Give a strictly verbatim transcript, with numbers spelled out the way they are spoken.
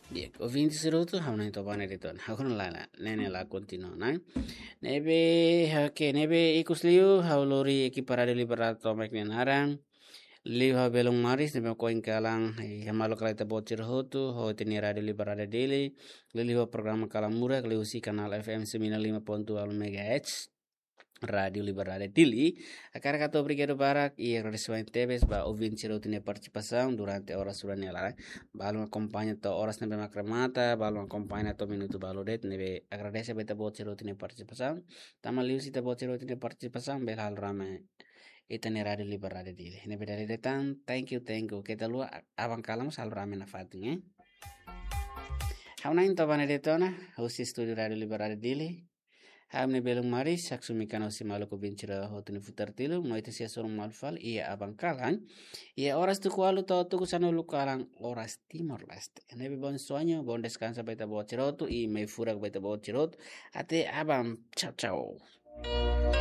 Di'ak, ouvinte sira hotu, ha'u na'in toba ne'e de'it ona. Ha'u kona lala, ne'e ne'e la kontinua ona. Ne'ebé, oke, ne'ebé ikus liu, ha'u lori ekipa Rádiu Liberdade tomak nia naran. Liu ha'u Belun Maris, ne'ebé ohin kalan, eh, hamaluk hela ita-boot sira hotu, ho ita-nia Rádiu Liberdade Dili. Liuliu ho programa Kalan Murak, liuhusi kanál F M sembilan lima ponto delapan megahertz. Rádiu Liberdade Dili. Hakarak hato'o obrigadu barak, i agradesimentu tebes ba ouvinte sira hotu nia partisipasaun durante oras rua nia laran. Balun akompaña to'o oras ne'ebé mak remata, balun akompaña to'o minutu balu de'it, ne'ebé agradese ba ita-boot sira hotu nia partisipasaun. Tanba liuhusi ita-boot sira hotu nia partisipasaun, bele halo rame ita-nia Rádiu Liberdade Dili. Ne'ebé dala ida tan, thank you, thank you. Keta haluha, aban kalan mós halo rame nafatin, eh. Ha'u na'in toba ne'e de'it ona, husi estúdiu Rádiu Liberdade Dili. Ha'u-nia Belun Maris, haksolok mai husi maluk ouvinte sira hotu nia futar tilun, no ita sei hasoru malu fali iha aban kalan. Iha oras tuku ualu to'o tuku sanulu kalan, oras Timor-Leste. Ne'ebé bom sonho, bom descanso ba ita-boot sira hotu, i mai furak ba ita-boot sira hotu. Até aban, tchau, tchau.